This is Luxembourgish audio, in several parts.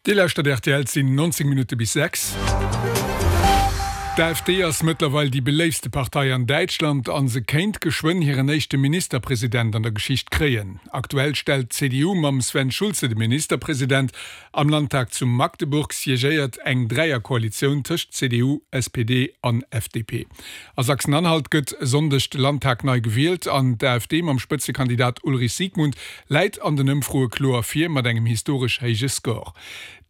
Dir lauschtert rtl, et sinn 19 Minutte bis 6. D'AfD ass mëttlerweil déi beléiftste Partei an Däitschland a se kéint geschwënn hiren éischte Ministerpresident an der Geschicht kréien. Aktuell stellt d'CDU mam Sven Schulze de Ministerpresident. Am Landtag zu Magdeburg siegéiert eng Dräierkoalitioun tëscht CDU, SPD an FDP. A Sachsen-Anhalt gëtt e Sonndeg de Landtag nei gewielt an d'AfD mam Spëtzekandidat Ulrich Siegmund läit an den Ëmfroe kloer vir mat engem historesch héije Score.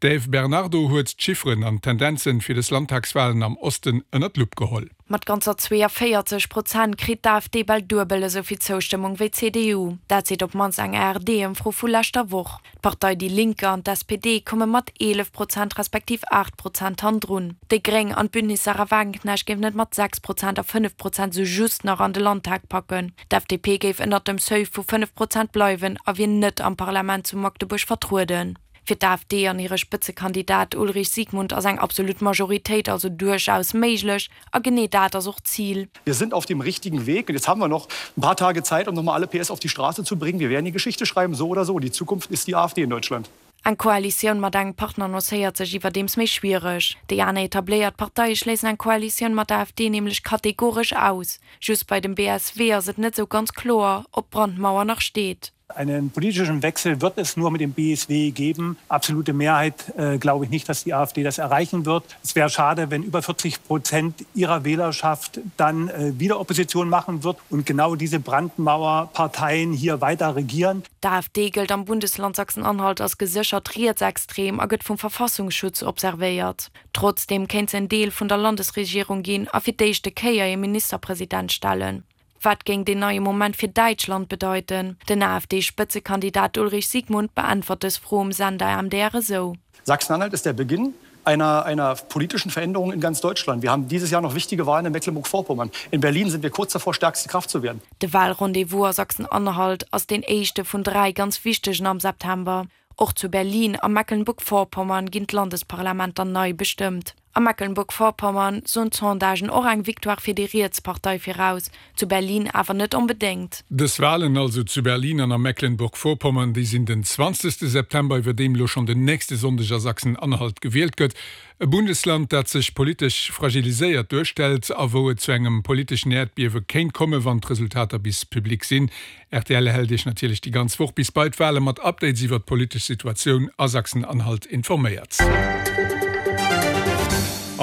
D'Eve Bernardo huet d'Chifferen an d'Tendenzen fir des Landtagswalen am Osten ënner d'Lupp geholl. Mat ganzer 42 Prozent kritt d'AfD bal duebel esou vill Zoustëmmung wéi d'CDU. Dat seet op d'mannst eng ARD-Ëmfro vu leschter Woch. D'Partei Die Linke an d'SPD komme mat 11 Prozent respektiv 8 Prozent hanndrun. Déi Gréng an d'Bündnis Sahra Wagenknecht géifen et mat 6 Prozent a 5 Prozent sou just nach an de Landtag packen. D'FDP géif ënnert dem Seuil vu 5 Prozent bleiwen a wier net am Parlament zu Magdeburg vertrueden. Fir d'AfD an hire Spëtzekandidat Ulrich Siegmund ass eng absolut Majoritéit also duerchaus méiglech a genee dat ass och d'Zil. Wir sind auf dem richtigen Weg und jetzt haben wir noch ein paar Tage Zeit, um noch mal alle PS auf die Straße zu bringen. Wir werden die Geschichte schreiben, so oder so. Die Zukunft ist die AfD in Deutschland. Eng Koalitioun mat engem Partner annoncéiert sech iwwerdeems méi schwiereg. Déi aner etabléiert Parteie schléissen eng Koalitioun mat der AfD nämlech kategoresch aus. Just bei dem BSW ass et net esou ganz kloer, ob d'Brandmauer nach steet. Einen politischen Wechsel wird es nur mit dem BSW geben. Absolute Mehrheit äh, glaube ich nicht, dass die AfD das erreichen wird. Es wäre schade, wenn über 40 Prozent ihrer Wählerschaft dann äh, wieder Opposition machen wird und genau diese Brandmauerparteien hier weiter regieren. D'AfD gëllt am Bundesland Sachsen-Anhalt als geséchert rietsextrem a gëtt vum Verfassungsschutz observéiert. Trotzdeem kéint se en Deel vun der Landesregierung ginn a fir d'éischte Kéier ee Ministerpresident stellen. Wat géing deen neie Moment fir Däitschland bedeiten? Den AfD-Spëtzekandidat Ulrich Siegmund beäntwert dës Fro um Sender MDR esou. Sachsen-Anhalt ist der Beginn einer, einer politischen Veränderung in ganz Deutschland. Wir haben dieses Jahr noch wichtige Wahlen in Mecklenburg-Vorpommern. In Berlin sind wir kurz davor, stärkste Kraft zu werden. De Wahlrendez-vous a Sachsen-Anhalt ass deen éischte vun 3 ganz wichtegen am September. Och zu Berlin a Mecklenburg-Vorpommern ginn d'Landesparlamenter nei bestëmmt. A Mecklenburg-Vorpommern soen d'Sondagen och eng Victoire fir déi riets Partei viraus, zu Berlin awer net onbedéngt. Dës Walen also zu Berlin an a Mecklenburg-Vorpommern, déi sinn den 20 September, iwwerdeem elo schonn den nächste Sonndeg a Sachsen-Anhalt gewielt gëtt. E Bundesland, dat sech politesch fragiliséiert duerstellt a wou et zu engem politeschen Äerdbiewe kéint komme wann d'Resultater bis public sinn. Rtl hält Iech natierlech déi ganz Woch bis bei d'Wale mat Updates iwwert d'politesch Situatioun a Sachsen-Anhalt informéiert.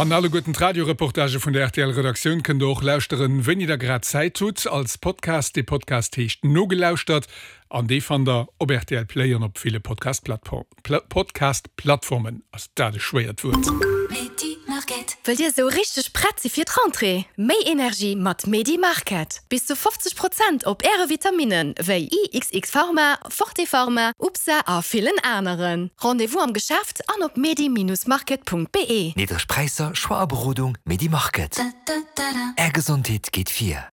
An alleguerten d'Radioreportagë vun der RTL-Redaktioun kënnt der och lauschteren, wéini der grad Zäit hutt, als Podcast. Dee Podcast heescht Nogelauschtert an dee fannt der op rtl Play an op ville Podcast-Plattformen. Ass dat e schwéiert Wuert? Wëllt Dir esou richteg prett si fir d'Rentrée? Méi Energie mat Medi Market! Bis zu 50 Prozent op Äre Vitaminen wéi IXX Pharma, Forte Pharma, UPSA a villen aneren. Rendez-vous am Geschäft an op medi-market.be. Niddreg Präisser, Choix a Berodung, Medi Market. Är Gesondheet geet vir.